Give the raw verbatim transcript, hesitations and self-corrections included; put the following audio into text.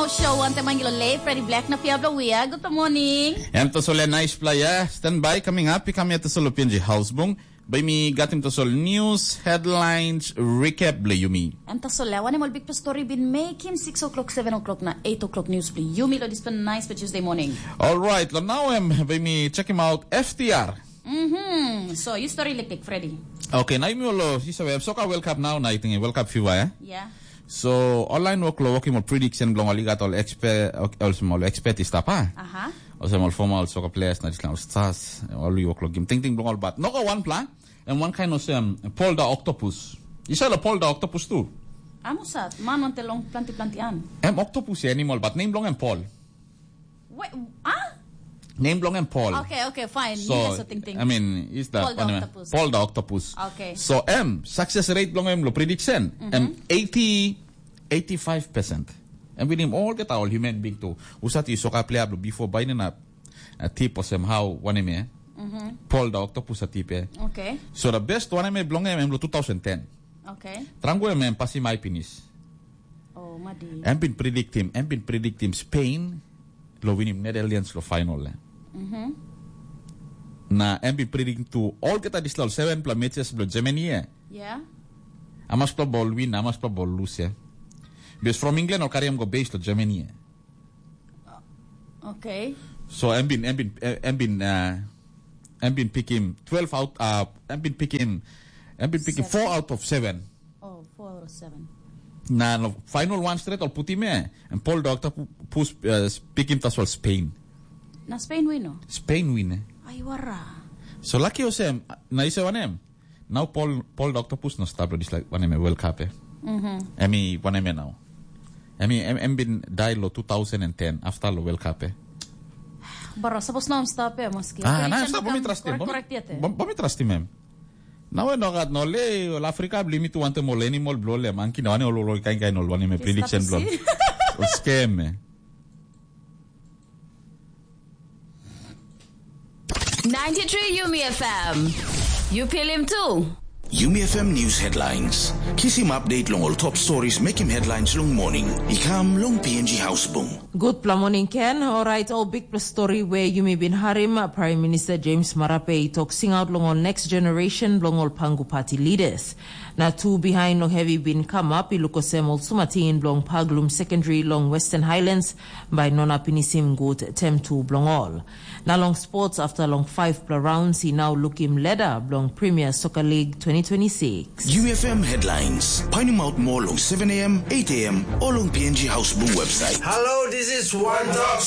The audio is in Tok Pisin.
Show wantaim Angelo Lei, Freddy Black na Fiablo Wia. Good morning. Em tasol ya nice playa. Stand by, coming up, i kam ya tasol lo P N G House Bung. Bai mi gatim tasol news, headlines, recap bla yumi. Em tasol ya, wanem ol big story bin make him six o'clock, seven o'clock na eight o'clock news bla yumi lo dispela nice pa Tuesday morning. All right, lo now em, bai mi check him out, F T R. Mm-hmm. So, you story like Freddy. Okay, na yumi olo, you sabi, soka World Cup now, na I think World Cup fever, eh? Yeah. So, online work lo working mo prediction blong ol i gat ol expert, ol small expert i stap, ha? Aha. Ol small formal soccer players na dispela stars, ol i work lo game. Ting ting blong ol, but no go one plan, and one kind of um, Paul the Octopus. You saw the Paul the Octopus too? Amusat, man want a long planti planti an. Em octopus animal, but name blong em Paul. Wait, ah? Name blong em Paul. Okay, okay, fine. So, Yes, so ting ting. I mean, is that Paul the anyway, octopus. Paul the octopus. Okay. So, em success rate blong em lo prediction, em eighty, eighty-five percent. Em with him all get all human being too. Usat i soka player blo before by na uh, tip osem how one em eh? Paul the octopus a tip eh. Okay. So the best one em eh blong em em lo two thousand ten. Okay. Trangu em em pasi mai pinis. Oh, madi. Em bin predict him, em bin predict him Spain lo winim Netherlands lo final eh. Na em bin predict tu olgeta dispela ol seven pla matches blo Germany eh. Yeah. Amas pla bol win, amas pla bol lose eh. Because from England ol carry em go base lo Germany eh. Okay. So em bin em bin eh, em bin uh, em bin pick him twelve out uh, em bin pick him em bin pick him four out of seven. Oh, four out of seven. Na no final one straight ol putim eh. And Paul Doctor pu- pus uh, pick him tasol Spain. Na Spain win o? Spain win eh. Ai wara. So lucky osem na ise wanem. Now Paul Paul Doctor pus no stop dis like wanem eh, World Cup eh. Emi wanem eh now. Emi em, em bin die lo two thousand and ten after lo World Cup eh. Bara sapos no stop eh maski. Ah, na stop bomi trust him. Bomi trust him em. Now we no gat no le ol Africa bli mi tu wantem ol animal blo le monkey na wane ol ol kain kain ol wanem eh prediction blo. Ol scam eh. Ninety-three Yumi F M. You feel him too. Yumi F M News Headlines. Kisim update long ol top stories mekim headlines long morning. I kam long P N G House Bung. Gutpela morning Ken. Alright, ol bikpela story where yumi bin harim, Prime Minister James Marape i tok singaut long ol next generation bilong ol Pangu Party leaders. Na tu behind long heavy bin come up, i luk osem ol sumatin bilong Paglum Secondary long Western Highlands, bai nona pinisim gut tem tu bilong ol. Na long sports, after long five pla rounds, i now lukim ladder bilong Premier Soccer League twenty twenty-six. U F M headlines. Painim out more long seven a m, eight a m, or long P N G House Boom website. Hello, this is One Talk